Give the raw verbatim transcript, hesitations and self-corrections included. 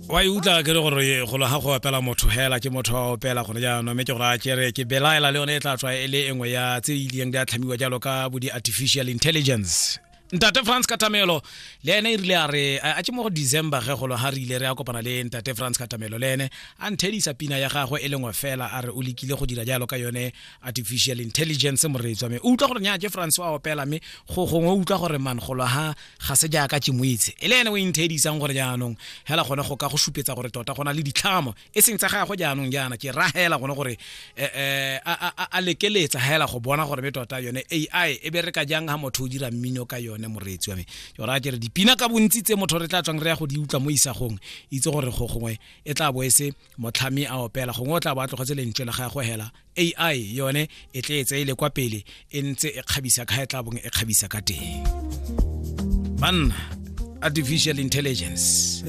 Wa e utlwa ke le gore golo ga go opela motho hela ke motho wa opela gone jaanong, mme ke gore a kere ke belaela le yone e tla tswa e le engwe ya tse e ileng di a tlhamiwa jalo ka bo di-artificial intelligence. Ntate France Katamelo le ene e rile a re a ke mo go December ge golo ga re ile re a kopana le ntate France Katamelo, le ene a nthedisa pina ya gagwe e lengwe fela, a re o lekile go dira jalo ka yone artificial intelligence. Moreetsi wa me, o utlwa gore nya ke France wa opela, mme go gongwe o utlwa gore man golo ha ga se jaaka ke mo itse e le ene o inthedisang gore jaanong hela gone go ka go supetsa gore tota go na le ditlhamo e seng tsa gagwe. Jaanong jaana ke ragela gone gore eh, a, a lekeletsa hela go bona gore me tota yone A I e bereka jang ha motho o dira mmino ka yone. Moreetsi wa me, ke gore a kere dipina ka bontsi tse motho re tla tswang re ya go di utlwa mo isagong, itse gore go gongwe e tla bo e se motlhami a opela, gongwe o tla bo a tlogetse lentswe la gagwe hela, A I yone e tle e tse e le kwa pele e ntse e kgabisa ka e tla bong e kgabisa ka teng. Banna, artificial intelligence.